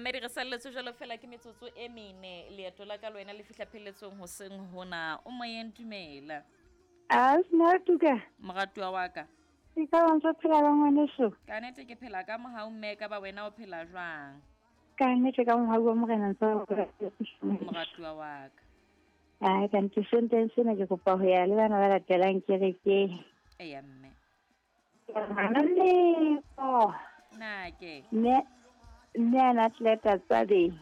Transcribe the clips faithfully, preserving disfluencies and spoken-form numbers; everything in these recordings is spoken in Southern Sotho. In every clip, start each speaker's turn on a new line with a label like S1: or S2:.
S1: Mamedi re salletswe jwalo fela ke metsotso e mene leeto la ka le wena le fihla pheletsong hoseng hona. O moyeng dumela.
S2: A Smatuka.
S1: Moratuwa wa ka.
S2: Ke ka ba ntse phela ba ngwaneso.
S1: Ka nnete ke phela ka mohau mme ka ba wena o phela jwang?
S2: Ka nnete ka mohau wa Morena ntse
S1: Moratuwa wa ka.
S2: Ai ka ntse senteng sena ke kopa ho ya le bana ba latelang kerekeng.
S1: Eya mme.
S2: Ngwana
S1: Na ke.
S2: Mme mme ana atleta tsabe.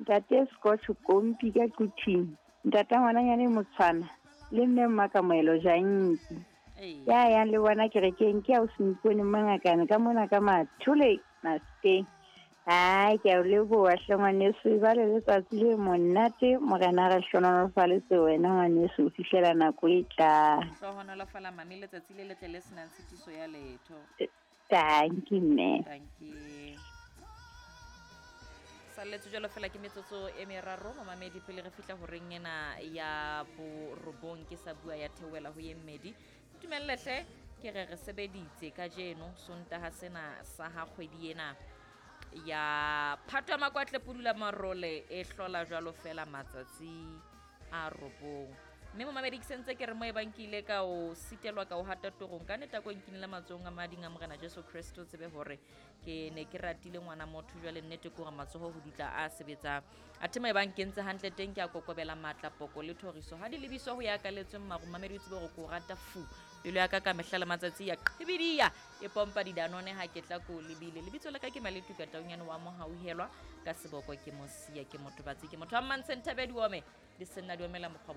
S2: Ntate Scotch Kompi ka Quthing. Ntate ngwananyane Motshwana le mme Mmakamoelo Janki.
S1: Ee.
S2: Ya yang le bona kerekeng ke a o sempone mangakane ka mona ka mathole masteng. Ai ke a o leboha hle ngwaneso e ba le letsatsi le monate Morena re hlohonolofaletse wena ngwaneso ho fihlela nako e tlang.
S1: Hlohonolofala mami letsatsi le letle le senang tshitiso ya letho.
S2: Thank you mme.
S1: Thank you. Salletswe jwalo fela ke metsotso e meraro momamedi pele re fihla horeng ena ya borobong ke sa bua ya theohela ho ye mmedi. Ntumelle hle ke re re sebeditse kajeno Sontaha sena sa ha kgwedi ena ya Phato ya Makwatle Pudula Marole e hlola jwalo fela matsatsi a robong. Mme momamedi ke sentse ke re mo e bang ke ile ka o sitelwa ka o hata torong ka nnete ko nkinela matsohong a mading a Morena Jesu Kristo tsebe hore ke ne ke ratile ngwana motho jwale nnete ke hore matsoho ho dutla a sebetsang. Athe mo e bang ke ntse hantle teng ke a kokobela matla poko le thoriso ha di lebiswa ho ya kaletsweng maru mamedi o tsebe hore ke o rata fu pelo ya ka ka mehla le matsatsi ya qhibidia e pompa didanone ha ke tla ko lebile. Lebitso la ka ke Maletuka Taunyane wa Mohauhelwa ka seboko ke Mosia ke motho batsi ke motho wa Mmantseng Thabedi Ome di senna di omela mokgwa